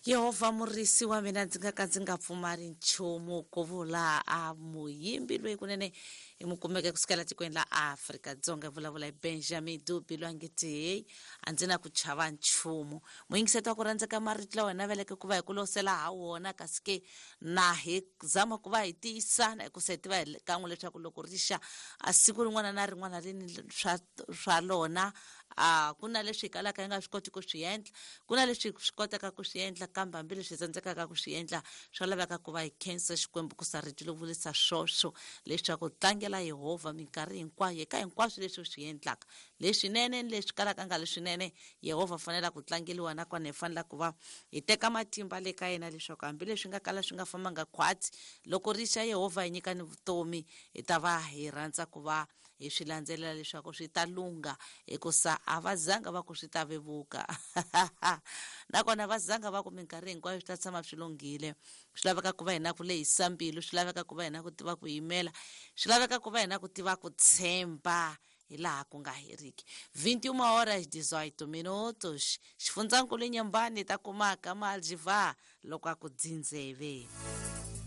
Yehovha murisi wa mina, ndzi nga ka ndzi nga pfumali nchumu, ku vula a muyimbi loyi kunene hi mu kumeke kusukela tikweni la Afrika-Dzonga. Hi vulavula hi Benjamin Dubi loyi a nge ti heyi, a ndzi na ku chava nchumu. Muyingiseti wa ku rhandzeka, marito lawa hi naveleke ku va hi ku losela ha wona, kasi ke na hi zama ku va hi tiyisana, hikusa hi tiva hi kan'we leswaku loko ri xa a siku rin'wana na rin'wana ri ni swa lona. A ku na leswi hi kalaka hi nga swi koti ku swi endla, ku na leswi hi swi kotaka ku swi endla, kambe hambileswi hi tsandzekaka ku swi endla, swa laveka ku va hi khensa Xikwembu, ku sa rito lo vurisa swoswo leswaku tlangela Yehovha minkarhi hinkwayo eka hinkwaswo leswi u swi endlaka, leswinene ni leswi kalaka nga leswinene. Yehovha fanela ku tlangeliwa, nakona hi fanela ku va hi teka matimba le ka yena leswaku hambileswi nga kala swi nga fambanga khwatsi, loko ri xa Yehovha hi nyika ni vutomi, hi ta va hi rhandza ku va hi swi landzelela leswaku swi ta lungha, hikusa a va zanga va ku swi ta vevuka, nakona va zanga va ku minkarhi hinkwayo swi ta tshama swi lunghile. Swi laveka ku va hina ku lehisa mbilu, swi laveka ku va hina ku tiva ku yimela, swi laveka ku va hina ku tiva ku tshemba hi laha ku nga heriki. 21 horas 18 minutos, xifundzankulu Nyembani ta kumaka Maljiva loko a ku dzindzeve.